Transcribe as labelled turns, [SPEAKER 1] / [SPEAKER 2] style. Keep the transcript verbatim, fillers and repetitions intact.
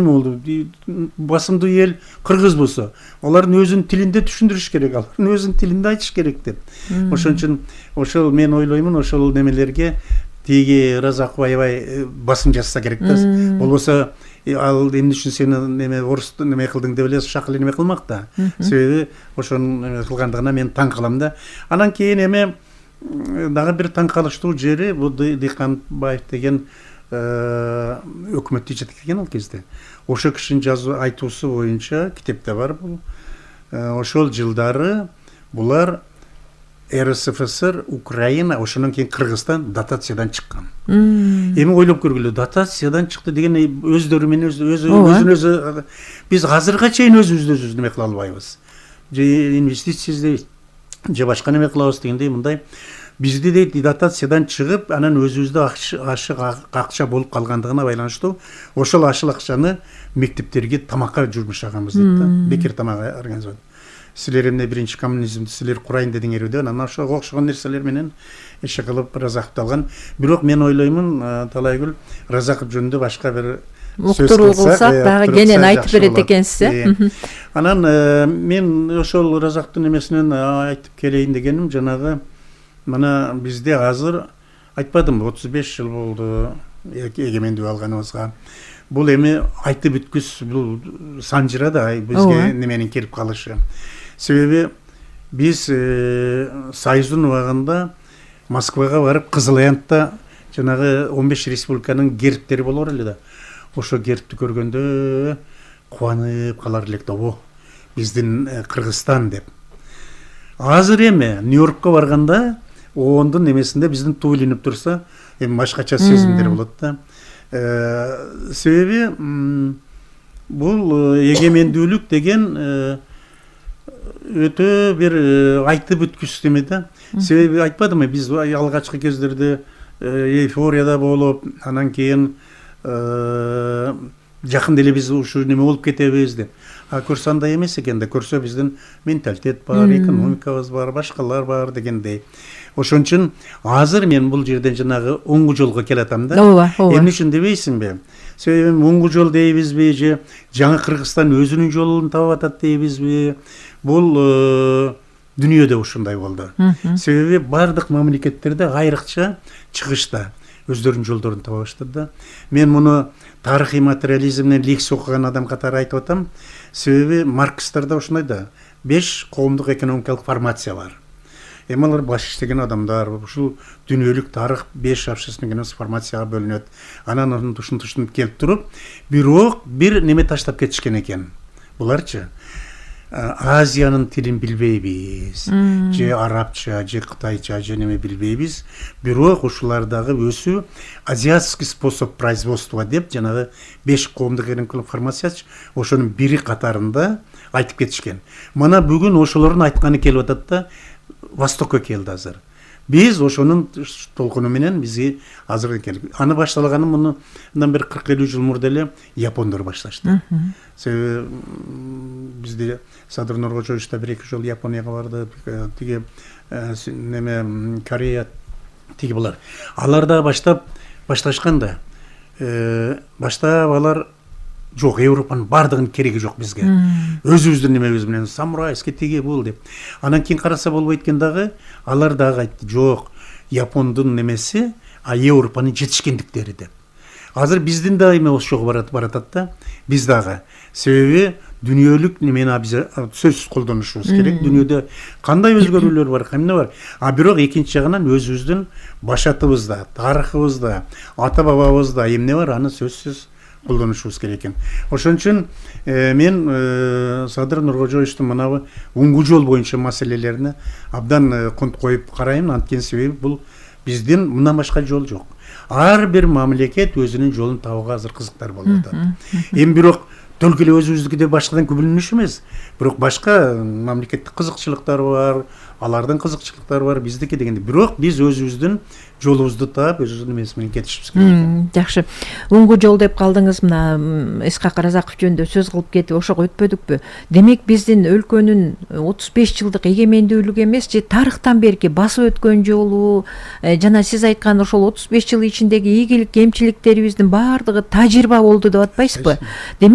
[SPEAKER 1] болду. Басымдуу эл кыргыз болсо, алардын өзүнүн тилинде түшүндүрүш керек, алардын өзүнүн тилинде айтыш керек деп. Ошон үчүн ошол мен ойлоймун, ошол немелерге тиги Разаков аябай басым жасаса керек да. Болбосо ал эмне үчүн сени неме орус неме кылдың деп эле шак эле неме кылмак да. Себеби ошонун неме кылгандыгына мен таң калам да. Анан кийин эме дагы бир таң калыштуу жери бул Дыйканбаев деген өкмөттү жеткирген ал кезде. Ошо кишинин жазуу айтуусу боюнча китепте бар бул. Ошол жылдары булар эр эс эф эс эр, Украина, ошондон кийин Кыргызстан дотациядан чыккан. Эми ойлоп көргүлө, дотациядан чыкты деген өздөрү менен өзүн өзү биз азырга чейин өзүбүздү өзүбүз неме кыла албайбыз. Же инвестиция издейбиз, же башка неме кылабыз дегендей мындай бизди дейт дотациядан чыгып, анан өзүбүздө ашык акча болуп калгандыгына байланыштуу ошол ашыл акчаны мектептерге тамакка жумшаганбыз дейт да. Бекер тамак организовать. Силер эмне биринчи коммунизмди силер курайын дедиңерби, анан ошого окшогон нерселер менен иши кылып Разаковду алган. Бирок мен ойлоймун, Талайгүл Разаков жөнүндө башка бир
[SPEAKER 2] уктуруу кылсак дагы кенен айтып берет экенсиз.
[SPEAKER 1] Анан мен ошол Разаковдун эмесинен айтып келейин дегеним, жанагы мына бизде азыр айтпадымбы, отуз беш жыл болду эгемендүү алганыбызга. Бул эми айтып бүткүс, бул санжыра да бизге неменин келип калышы. Себеби биз Союздун убагында Москвага барып Кызыл-Аянтта жанагы он беш республиканын гербтери болор эле да. Ошо гербти көргөндө кубанып калар элек да, о, биздин Кыргызстан деп. Азыр эми Нью-Йоркко барганда ондун немесинде биздин туу илинип турса, эми башкача сезимдер болот да. Себеби бул эгемендүүлүк деген өтө бир айтып бүткүс неме да. Себеби айтпадымбы, биз алгачкы кездерде эйфорияда болуп, анан кийин жакында эле биз ушу неме болуп кетебиз деп. А көрсө андай эмес экен да, көрсө биздин менталитет бар, экономикабыз бар, башкалар бар дегендей. Ошон үчүн азыр мен бул жерден жанагы оңгу жолго келатам да. Эмне үчүн дебейсиңби? Себеби оңгу жол дейбизби, же жаңы Кыргызстан өзүнүн жолун таап атат дейбизби? Бул дүйнөдө ушундай болду. Себеби бардык мамлекеттерде айрыкча чыгышта өздөрүнүн жолдорун таба баштады да. Мен муну тарыхый материализмден лекция окуган адам катары айтып атам. Себеби Маркстарда ошондой да, беш коомдук экономикалык формация бар. Эми алар баш иштеген адамдар, ушул дүйнөлүк тарых беш общественный формацияга бөлүнөт. Анан ошон тушунтушунуп келип туруп, бирок бир неме таштап кетишкен экен. Буларчы Азиянын тилин билбейбиз, же арабча, же кытайча, же неме билбейбиз. Бирок ушулардагы өсүү азиатский способ производства деп жанагы беш коомдук экономикалык формациячы ошонун бири катарында айтып кетишкен. Мына бүгүн ошолордун айтканы келип атат да, Востокко келди азыр. Биз ошонун толкуну менен бизге азыр келип. Аны башталганы мындан бир кырк элүү жыл мурда эле япондор башташты. Себеби бизде Садыр Нуркожоевич да бир эки жолу Японияга барды, тиги неме Корея тиги булар. Алар да баштап башташкан да. Баштап алар жок, Европанын бардыгынын кереги жок бизге. Өзүбүздүн немебиз менен самурайский тиги бул деп. Анан кийин караса болбойт экен дагы, алар дагы айтты, жок, Япондун немеси, а Европанын жетишкендиктери деп. Азыр биздин да эме ошого барат баратат да, биз дагы. Себеби дүйнөлүк немени биз сөзсүз колдонушубуз керек. Дүйнөдө кандай өзгөрүүлөр бар, эмне бар. А бирок экинчи жагынан өзүбүздүн башатыбызда, тарыхыбызда, ата бабабызда эмне бар, аны сөзсүз колдонушубуз керек экен. Ошон үчүн мен Садыр Нуркожоевичтин мынабы оңгу жол боюнча маселелерине абдан конт коюп карайм, анткени себеби бул биздин мындан башка жол жок. Ар бир мамлекет өзүнүн жолун табууга азыр кызыктар болуп атат. Эми бирок только эле өзүбүздүкүдөй башкадан күбөлөнүш эмес, бирок башка мамлекеттик кызыкчылыктар бар, алардын кызыкчылыктары бар, биздики дегенде. Бирок биз өзүбүздүн жолубузду таап, өзүбүздүн эмеси менен кетишибиз керек.
[SPEAKER 2] Жакшы. Уңгу жол деп калдыңыз, мына Исхак Разаков жөнүндө сөз кылып кетип, ошого өтпөдүкпү? Демек биздин өлкөнүн отуз беш жылдык эгемендүүлүк эмес, же тарыхтан берки басып өткөн жолу, жана сиз айткан ошол отуз беш жыл ичиндеги ийгилик, кемчиликтерибиздин баардыгы тажрыйба болду деп атпайсызбы?